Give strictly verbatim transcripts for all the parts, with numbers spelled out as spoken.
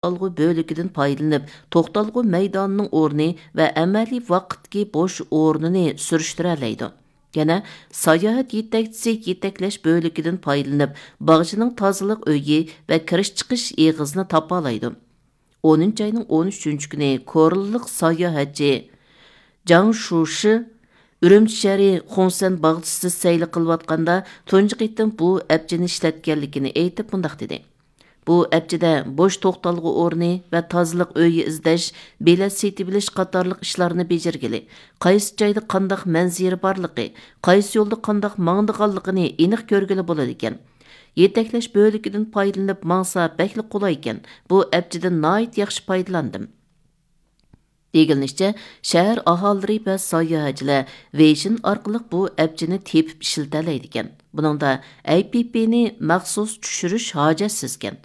توختالغۇ بۆلىكىدىن پايدىلىنىپ، توختالغۇ مەيدانىنىڭ ئورنى ۋە ئەمەلىي ۋاقىتتىكى بوش ئورنىنى سۈرۈشتۈرەلەيدۇ. يەنە ساياھەت يېتەكچىسى يېتەكلەش بۆلىكىدىن پايدىلىنىپ، باغچىنىڭ تازىلىق ئۆيى ۋە كىرىش-چىقىش ئېغىزىنى تاپالايدۇ. ئونىنچى ئاينىڭ ئون ئۈچىنچى كۈنى كورلىلىق ساياھەتچى جاڭ شۇشى ئۈرۈمچى شەھىرى خۇڭسەن باغچىسىدا سەيلە قىلىۋاتقاندا، تۇنجى قېتىم بۇ ئەپچىنى ئىشلەتكەنلىكىنى ئېيتىپ، مۇنداق دېدى: بۇ ئەپچىدە بوش توختالغۇ ئورنى ۋە تازىلىق ئۆيى ئىزدەش، بېلەت سېتىۋېلىش قاتارلىق ئىشلارنى بېجىرگىلى، قايسى جايدا قانداق مەنزىرە بارلىقى، قايسى يولدا قانداق ماڭىدىغانلىقىنى ئېنىق كۆرگىلى بولىدىكەن. يېتەكلەش بۆلىكىدىن پايدىلىنىپ ماڭسا بەكلا قولايكەن. بۇ ئەپچىدىن ناھايىتى ياخشى پايدىلاندىم. دېگىنىچە، شەھەر ئاھالىلىرى ۋە ساياھەتچىلەر ۋېيشىن ئارقىلىق بۇ ئەپچىنى تېپىپ ئىشلىتەلەيدىكەن. بۇنىڭدا ئەي پى پىنى مەخسۇس چۈشۈرۈش ھاجەتسىزكەن.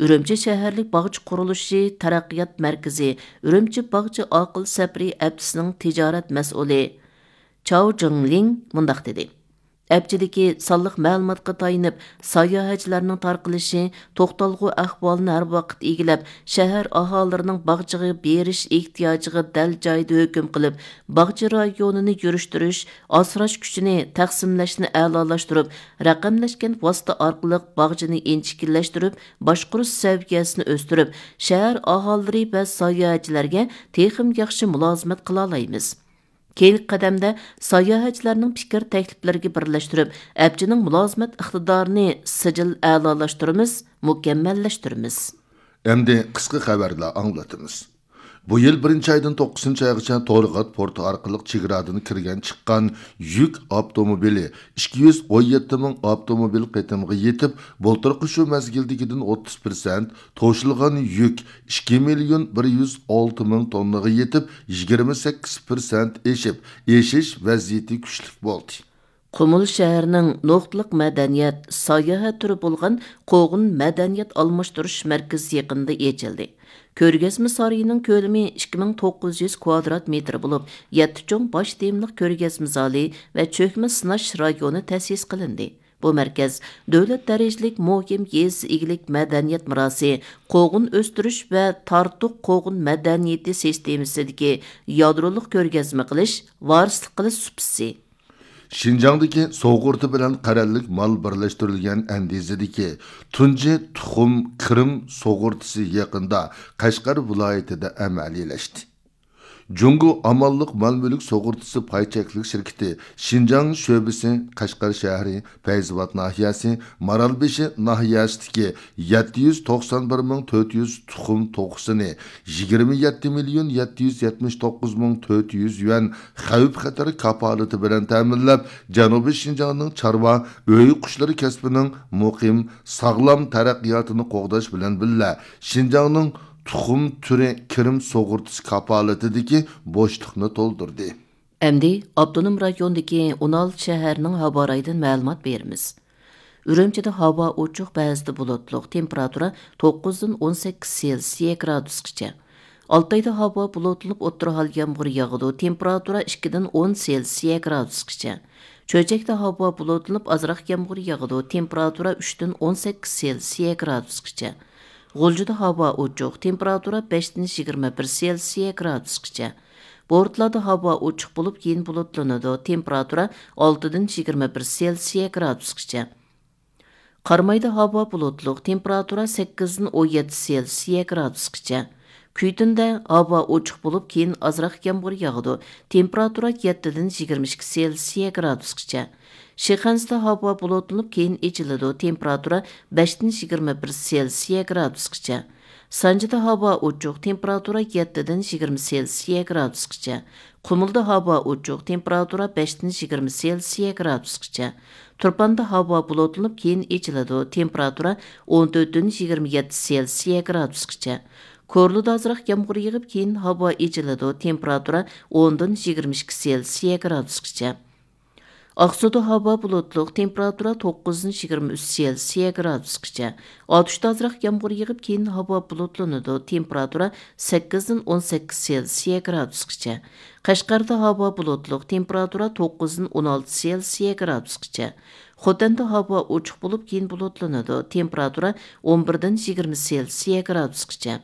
ئۈرۈمچى شەھەرلىك باغچە قۇرۇلۇشى تەرەققىيات مەركىزى ئۈرۈمچى باغچە ئاقىل سەپىرى ئەپچىسىنىڭ تىجارەت مەسئۇلى چاۋ جىڭلىڭ مۇنداق دېدى: ئەپچىدىكى سانلىق مەلۇماتقا تايىنىپ، ساياھەتچىلەرنىڭ تارقىلىشى، توختالغۇ ئەھۋالىنى ھەر ۋاقىت ئىگىلەپ، شەھەر ئاھالىلىرىنىڭ باغچىغا بېرىش ئېھتىياجىغا دەل جايىدا ھۆكۈم قىلىپ، باغچە رايونىنى يۈرۈشتۈرۈش، ئاسراش كۈچىنى تەقسىملەشنى ئەلالاشتۇرۇپ، رەقەملەشكەن ۋاسىتە ئارقىلىق باغچىنى ئىنچىكىلەشتۈرۈپ، باشقۇرۇش سەۋىيەسىنى ئۆستۈرۈپ، شەھەر ئاھالىلىرى ۋە ساياھەتچىلەرگە تېخىمۇ ياخشى مۇلازىمەت قىلالايمىز. كېيىنكى قەدەمدە ساياھەتچىلەرنىڭ پىكىر تەكلىپلىرىگە بىرلەشتۈرۈپ، ئەپچىنىڭ مۇلازىمەت ئىقتىدارىنى سىجىل ئەلالاشتۇرىمىز، مۇكەممەللەشتۈرىمىز. ئەمدى قىسقا خەۋەرلەر ئاڭلىتىمىز. بۇ يىل بىرىنچى ئايدىن توققۇزىنچى ئايغىچە تورغات پورتى ئارقىلىق چېگرادىن كىرگەن چىققان يۈك ئاپتوموبىلى ئىككى يۈز ئون يەتتە مىڭ ئاپتوموبىل قېتىمغا يېتىپ، بۇلتۇرقى شۇ مەزگىلدىكىدىن ئوتتۇز پىرسەنت، توشۇلغان يۈك ئىككى مىليون بىر يۈز ئالتە مىڭ توننىغا يېتىپ، يىگىرمە سەككىز پىرسەنت ئېشىپ، ئېشىش ۋەزىيىتى كۈچلۈك بولدى. قۇمۇل شەھىرىنىڭ نۇقتىلىق مەدەنىيەت، ساياھەت تۈرى بولغان قوغۇن مەدەنىيەت ئالماشتۇرۇش مەركىزى يېقىندا ئېچىلدى. كۆرگەزمە سارىيىنىڭ كۆلىمى ئىككى مىڭ توققۇز يۈز كۋادرات مېتىر بولۇپ، يەتتە چوڭ باش تېمىلىق كۆرگەزمە زالى ۋە چۆكمە سىناش رايونى تەسىس قىلىندى. بۇ مەركەز دۆلەت دەرىجىلىك مۇھىم يېزا ئىگىلىك مەدەنىيەت مىراسى، قوغۇن ئۆستۈرۈش ۋە تارتۇق قوغۇن مەدەنىيىتى سىستېمىسىدىكى يادرولۇق كۆرگەزمە قىلىش، ۋارىسلىق قىلىش سۇپىسى. شىنجاڭدىكى سۇغۇرتا بىلەن قەرەللىك مال بىرلەشتۈرۈلگەن ئەندىزىدىكى تۇنجى تۇخۇم كىرىم سۇغۇرتىسى يېقىندا قەشقەر ۋىلايىتىدە ئەمەلىيلەشتى. جۇڭگو ئامانلىق مال مۈلۈك سۇغۇرتىسى پاي چەكلىك شىركىتى شىنجاڭ شۆبىسى قەشقەر شەھىرى پەيزىۋات ناھىيەسى مارالبېشى ناھىيەسىدىكى يەتتە يۈز توقسان بىر مىڭ تۆت يۈز تۇخۇم توخۇسىنى يىگىرمە يەتتە مىليون يەتتە يۈز يەتمىش توققۇز مىڭ تۆت يۈز يۈەن خەۋپ خەتەر كاپالىتى بىلەن تەمىنلەپ، جەنۇبىي شىنجاڭنىڭ چارۋا، ئۆي قۇشلىرى كەسپىنىڭ مۇقىم، ساغلام تەرەققىياتىنى قوغداش بىلەن بىللە، شىنجاڭنىڭ تۇخۇم تۈرى كىرىم سۇغۇرتىسى كاپالىتىدىكى بوشلۇقنى تولدۇردى. ئەمدى ئاپتونوم رايوندىكى ئون ئالتە شەھەرنىڭ ھاۋا رايىدىن مەلۇمات بېرىمىز. ئۈرۈمچىدە ھاۋا ئوچۇق، بەزىدە بۇلۇتلۇق، تېمپېراتۇرا توققۇزدىن ئون سەككىز سېلسىيە گرادۇسقىچە. ئالتايدا ھاۋا بۇلۇتلىنىپ، ئوتتۇرا ھال يامغۇر ياغىدۇ، تېمپېراتۇرا ئىككىدىن ئون سېلسىيە گرادۇسقىچە. چۆچەكتە ھاۋا بۇلۇتلىنىپ، ئازراق يامغۇر ياغىدۇ، تېمپېراتۇرا ئۈچتىن ئون سەككىز سېلسىيە گرادۇسقىچە. غۇلجىدا ھاۋا ئوچۇق، تېمپېراتۇرا بەشتىن يىگىرمە بىر سېلسىيە گرادۇسقىچە. بورتالادا ھاۋا ئوچۇق بولۇپ، كېيىن بۇلۇتلىنىدۇ، تېمپېراتۇرا ئالتىدىن يىگىرمە بىر سېلسىيە گرادۇسقىچە. قارامايدا ھاۋا بۇلۇتلۇق، تېمپېراتۇرا سەككىزدىن ئون يەتتە سېلسىيە گرادۇسقىچە. كۈيتۈندە ھاۋا ئوچۇق بولۇپ، كېيىن ئازراق يامغۇر ياغىدۇ، تېمپېراتۇرا يەتتىدىن يىگىرمە ئىككى سېلسىيە گرادۇسقىچە. شىخەنزىدە ھاۋا بۇلۇتلىنىپ، كېيىن ئېچىلىدۇ، تېمپېراتۇرا بەشتىن يىگىرمە بىر سېلسىيە گرادۇسقىچە. سانجىدا ھاۋا ئوچۇق، تېمپېراتۇرا يەتتىدىن يىگىرمە سېلسىيە گرادۇسقىچە. قۇمۇلدا ھاۋا ئوچۇق، تېمپېراتۇرا بەشتىن يىگىرمە سېلسىيە گرادۇسقىچە. تۇرپاندا ھاۋا بۇلۇتلىنىپ، كېيىن ئېچىلىدۇ، تېمپېراتۇرا ئون تۆتتىن يىگىرمە يەتتە سېلسىيە گرادۇسقىچە. كورلىدا ئازراق يامغۇر يېغىپ، كېيىن ھاۋا ئېچىلىدۇ، تېمپېراتۇرا ئوندىن يىگىرمە ئىككى سېلسىيە گرادۇسقىچە. ئاقسۇدا ھاۋا بۇلۇتلۇق، تېمپېراتۇرا توققۇزدىن يىگىرمە ئۈچ سېلسىيە گرادۇسقىچە. ئاتۇشتا ئازراق يامغۇر يېغىپ، كېيىن ھاۋا بۇلۇتلىنىدۇ، تېمپېراتۇرا سەككىزدىن ئون سەككىز سېلسىيە گرادۇسقىچە. قەشقەردە ھاۋا بۇلۇتلۇق، تېمپېراتۇرا توققۇزدىن ئون ئالتە سېلسىيە گرادۇسقىچە. خوتەندە ھاۋا ئوچۇق بولۇپ، كېيىن بۇلۇتلىنىدۇ. تېمپېراتۇرا ئون بىردىن يىگىرمە سېلسىيە گرادۇسقىچە.